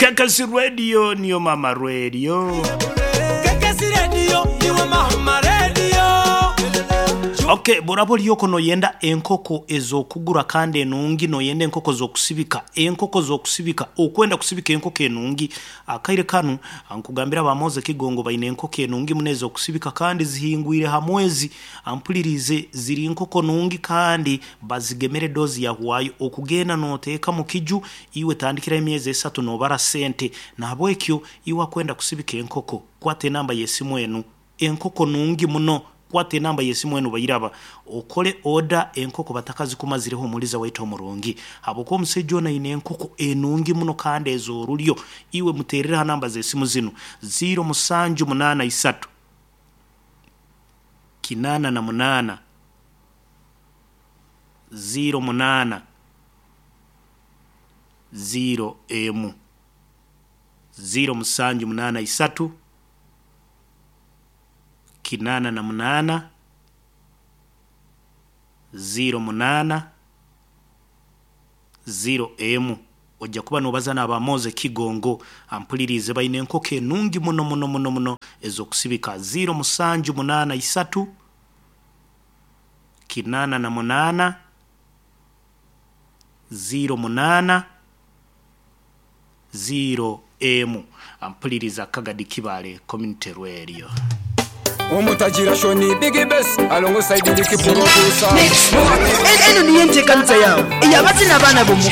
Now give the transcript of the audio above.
Kekesi Radio niyo mama radio. Kekesi Radio niwe mama radio. Ok bworaba ori okwo noyenda enkoko ezokugura kandi enungi noyenda enkoko zokusibika enkoko zokusibika okwenda kusibika enkoko enungi akaire kanu nkugambire aba Moze Kigongo baine enkoko enungi muno ezokusibika kandi zihingwire ha mwezi mpulirize ziri nkoko nungi kandi bazigemere dozi yahwayo okugenda noteeka mukiju Iwe tandikiraho emyezi esatu nobara sente. Nahabwekyo iwe akwenda kusibika enkoko, kwata enamba y'esimu enu. Enkoko nungi muno. Kwata enamba y'esimu enu bairaba. Okole oda enkoko batakazikumazireho omuliza waitu omurungi. Habwokuba omusaija onu aine enkoko enungi muno kandi ez'orulyo. Iwe muterere ha namba z'esimu zinu, ziiro musanju munaana isatu, kinaana na munaana, ziiro munaana. ziiro emu, ziiro musanju munaana isatu, kinaana na munaana, ziiro munaana, ziiro emu. Oja kuba nobaza n'aba Moze Kigongo ampuliriize baine enkoko enungi muno muno muno muno ez'okusibika. Ziiro musanju munaana isatu, kinaana na munaana, ziiro munaana, ziiro emu. Mpuliriza Kagadi Kibaale Community Radio. Omutagira Shoni Big Bass alongside Lick Producer. Eno niyo enteekaniza yaawe ey'abazina abaana b'omuka.